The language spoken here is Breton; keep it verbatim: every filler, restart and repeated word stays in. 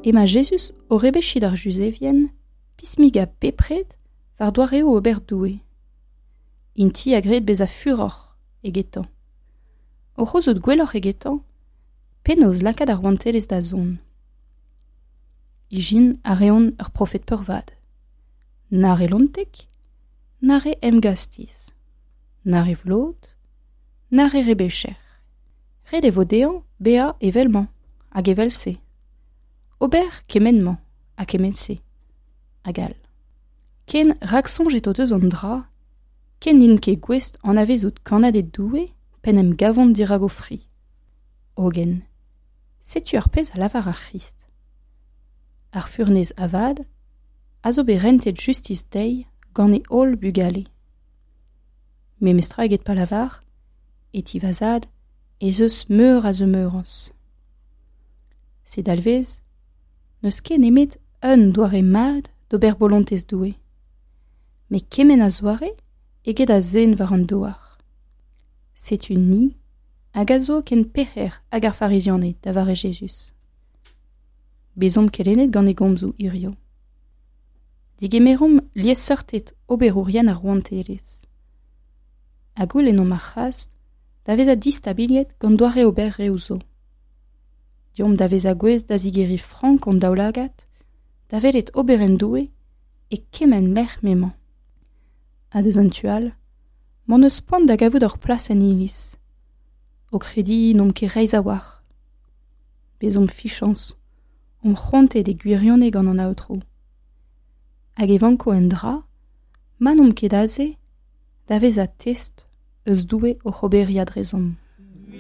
Emañ Jezuz o rebechiñ d'ar Juzevien pismigañ bepred war doareoù ober Doue. Int-i a gred bezañ furoc'h egetañ. O c'houzout gwelloc'h egetañ, penaos lakaat ar rouantelezh da zont. Ijin a reont ur profed peurvat. Na re lontek, na re emgastiz, na re vlot, na re rebecher. Ret e vo dezhañ bezañ evel-mañ hag evel-se. Ober kement-mañ ha kement-se, hag all. Ken raksoñjet o deus an dra, ken n'int ket gouest anavezout kannaded Doue p'en em gavont dirak o fri. Hogen, setu ar pezh a lavar ar C'hrist. Ar furnez avat a zo bet rentet justis dezhi gant e holl bugale. Memestra eget pa lavar, e ti va zad ez eus meur a zemeurañs. Se dalvez, n'eus ket nemet un doare mat d'ober bolontez Doue. Met kement a zoare eget a zen war an douar. Setu ni hag a zo ken pec'her hag ar Farizianed da vare Jezuz. Bezomp kelennet gant e gomzoù hiziv. Digemeromp liesseurted oberourien ar rouantelezh. Ha goulennomp ar c'hras da vezañ distabiliet gant doare ober reoù zo. Deomp da vezañ gouest da zigeriñ frank hon daoulagad, da welet oberenn Doue e kement lec'h m'emañ. Ha deus an tu all, m'hon eus poan da gavout hor plas en iliz. O krediñ n'omp ket reizh a-walc'h. Bezomp fichañs, omp c'hoantet e gwirionez gant an Aotrou. Hag e vanko un dra, ma n'omp ket aze, da vezañ test eus Doue oc'h oberiañ drezomp.